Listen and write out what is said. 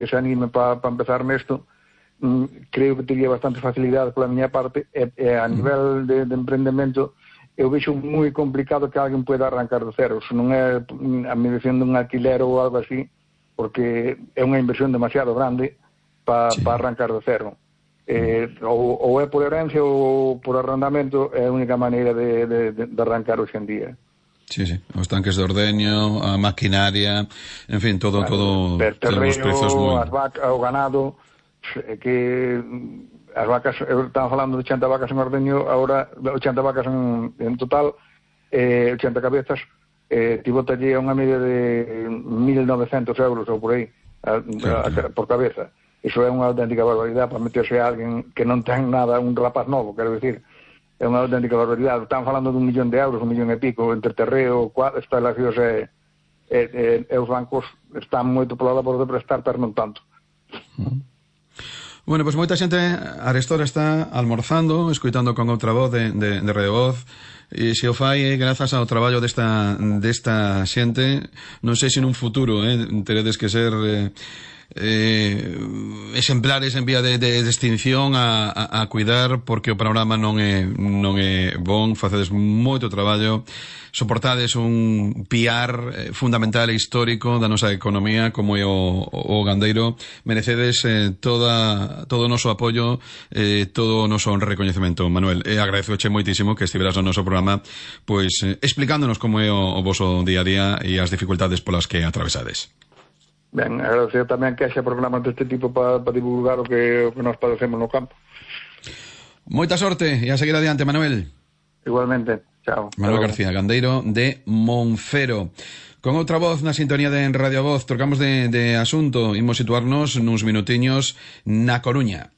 se anime para empezar nesto, creo que teria bastante facilidade pola miña parte, e a nivel de emprendemento eu vexo moi complicado que alguén pueda arrancar do cero, se non é a medición dun alquiler ou algo así, porque é unha inversión demasiado grande para arrancar do cero. Ou é por herencia ou por arrendamento, é a única maneira de arrancar hoxe en día. Sí, os tanques de ordeño, a maquinaria, en fin, todo terreo, as vacas, o ganado, que as vacas, estamos falando de 80 vacas en ordeño, agora 80 vacas en total, 80 cabezas, tivo talle unha media de 1.900 euros ou por aí, por cabeza. Iso é unha auténtica barbaridade para meterse a alguén que non ten nada, un rapaz novo, quero dicir, é unha auténtica barbaridade. Están falando de 1 millón de euros, 1 millón e pico, entre terreo, instalacións e os bancos están moito pola labor de prestar, pero non tanto. Bueno, pois moita xente arestora está almorzando, escoitando con outra voz de Radio Voz, e se o fai grazas ao traballo desta xente. Non sei se nun futuro teredes que ser exemplares en vía de extinción a cuidar, porque o panorama non é bon. Facedes moito traballo, soportades un piar fundamental e histórico da nosa economía como é o gandeiro. Merecedes todo o noso apoio, todo o noso recoñecemento, Manuel. Agradezoche moitísimo que estiveras no noso programa, pois explicándonos como é o voso día a día e as dificultades polas que atravesades. Ben, agradecer tamén que haxa programas deste tipo para divulgar o que nos padecemos no campo. Moita sorte e a seguir adiante, Manuel. Igualmente, chao. Manuel García, gandeiro de Monfero. Con outra voz na sintonía de Radio Voz, trocamos de asunto, imos situarnos nuns minutiños na Coruña.